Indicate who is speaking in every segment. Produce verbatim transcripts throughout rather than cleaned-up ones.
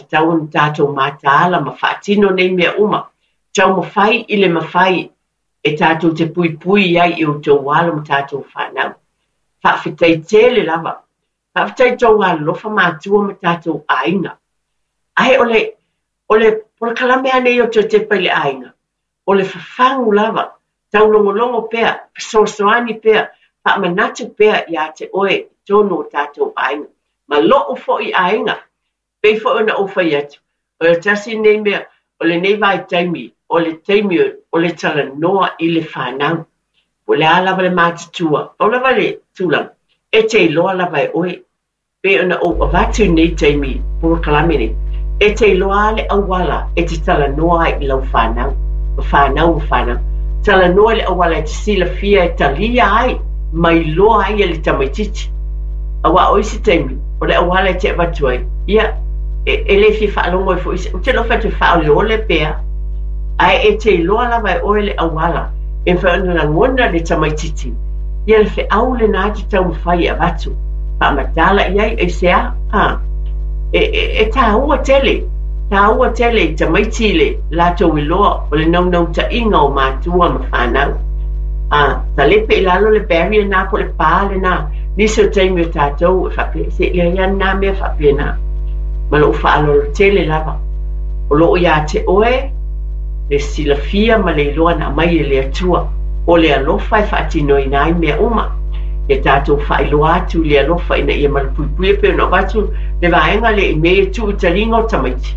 Speaker 1: tatau ona tatou mataala ma faatino nei mea uma, taumafai i le mafai e tatou te puipui ai i outou alo ma tatou fanau. Faafetai tele lava. Faafetai i tou alolofa matua ma tatou aiga. Ae o le, o le polokalame lava nei o Toe Tepa i le Aiga, o le fafagu lava, taulogologo pea, fesoasoani pea, faamanatu pea ia te oe i totonu o tatou aiga. Ma lou foi aiga, pei foi ona ou fai atu, o le tasi lenei mea, o lenei vaitaimi, o le taimi o le talanoa i le fanau. Po o le a lava le matutua, pau lava le tulaga, e te iloa lava e oe, pei ona ou avatu i lenei taimi polokalame nei, e te iloa le auala e te talanoa ai i lau fanau, ma fanau ma fanau. Talanoa i le auala e te silafia e talia ai, ma iloa ai e le tamaitiiti. Aua o isi taimi, o le auala e te avatu ai, ia, e, e le fia faalogo ai foi, ou te iloa fai atu e faaoleole pea, ae e te iloa lava e oe le auala, e mafai ona lagona le tamaitiiti, ia le feau lena e te taumafai e avatu, faamatala i ai, aisea, a, e, e, e tāua tele, tāua tele i tamaiti le latou iloa o le naunautaiga o matua ma fanau. A, talepe i lalo le barrier na po o le pa lena, nisi o taimi o tatou e faapea, se i ai lava na mea faapena. Ma lou faaaloalo tele lava. O loo ia te oe le silafia ma le iloa na aumai e le Atua, o le alofa e faatinoina ai mea uma. Ia tatou faailoa atu i le alofa ina ia malupuipuia pei ona avatu le vaega lea i mea e tuu i taliga o tamaiti.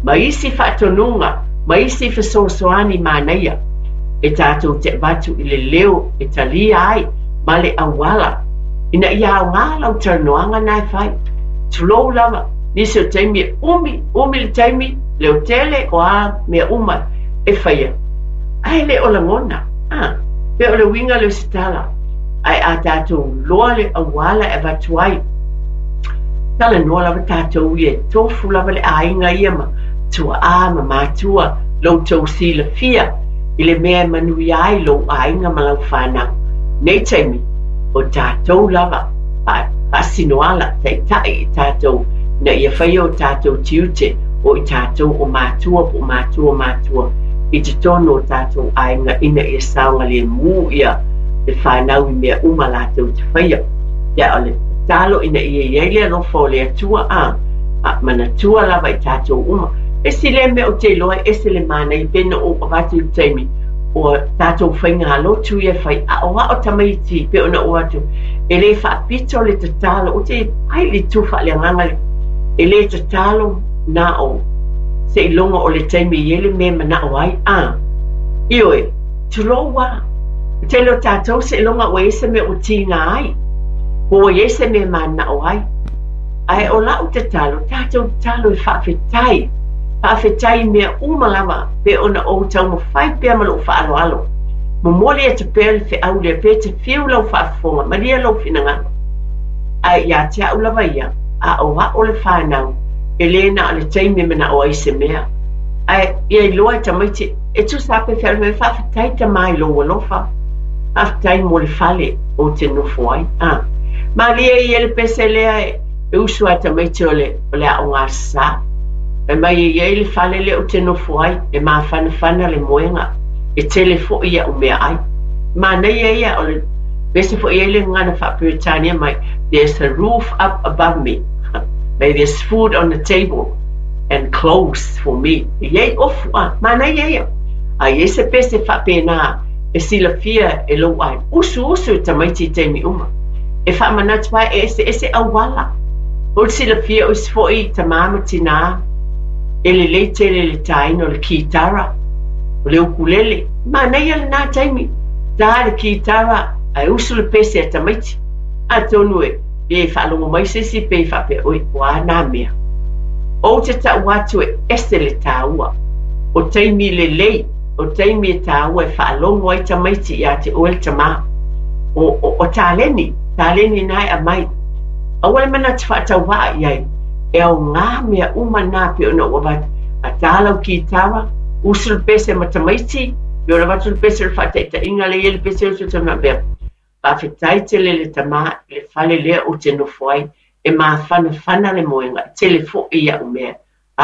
Speaker 1: Ma isi faatonuga, ma isi fesoasoani manaia e tatou te avatu i le leo e talia ai ma le auala ina ia aoga lau talanoaga na e fai. Tulou lava, nisi o taimi e umi, umi le taimi, leo tele o a mea uma e faia. Ae le o lagona, ah, pe o le uiga lea o se tala. Ae a tatou loa le auala e avatu ai, talanoa lava tatou ia e tofu lava le aiga ia ma tuaa ma matua lou tou silafia i le mea e manuia ai lou aiga ma lau fanau. Nei taimi, o tatou lava faasinoala taitai i tatou ina ia faia o tatou tiute o i tatou o matua po o matua matua i totonu o tatou aiga ina ia saogalemu ia le fanau i mea uma latou te faia. Ia o le tatalo ina ia i ai le alofa o le Atua a, a manatua lava i tatou uma. Esi lea mea ou te iloa e ese le manaia pe na ou avatu i le taimi o tatou faigalotu ia e fai aoao tamaiti pe ona ou atu e le faapito le tatalo, ou te ai le itu faaleagaga le e le tatalo na o seiloga o le taimi e i ai le mea e manao ai. A, ioe, tulou a. O tele o tatou seiloga ua i ai se mea ua tiga ai, po ua i ai se mea e manao ai. Ae o lau tatalo, tatou tatalo e faafetai, faafetai i mea uma lava pe ona ou taumafai pea ma lou faaaloalo. Momoli atu pea le feau lea pe te fiu lau faafofoga, malie lou finagalo. Ae ia te au lava ia, aoao le fanau, e le na o le taimi e manao ai se mea. Ae ia iloa e tamaiti, e tusa lava pe feau mai, faafetai tama i lou alofa, faafetai mo le fale ou te nofo ai. A, malie ia le pese lea e, e usu a tamaiti o le, o le aoga sa. Fai mai e i ai le fale lea ou te nofo ai, e mafanafana le moega, e tele foi ia'u meaai. Manaia ia o le pese foi ai le gagana faa-Peretania mai, there's a roof up above me, may there's food on the table and clothes for me. E i ai ofu a, manaia ia. A i ai se pese faapena e silafia e lou ai, usu usu e tamaiti i taimi uma. E faamanatu ai e eseese auala. O le silafia o isi foi tamā ma tinā, e lelei tele le tāina o le kitara, o le ukulele. Manaia lena taimi, tā le kitara ae usu le pese a tamaiti. Atonu e, pe faalogo mai se isi pe faapea, oi, o a nā mea. Ou te tau atu e ese le tāua. O taimi lelei, o taimi e tāua e faalogo ai tamaiti ia te oe le tamā. O, o, o taleni, taleni nā e aumai. Aua le manatu faatauvaa i ai, e aoga mea uma nā pe ona ua avatu. A tā lau kitara, usu le pese ma tamaiti, pe ona avatu le pese o le faataitaiga lea i ai le pese usu te faapea. Faafetai tele le tamā i le fale lea ou te nofo ai, e mafanafana le moega, e tele foi ia'u mea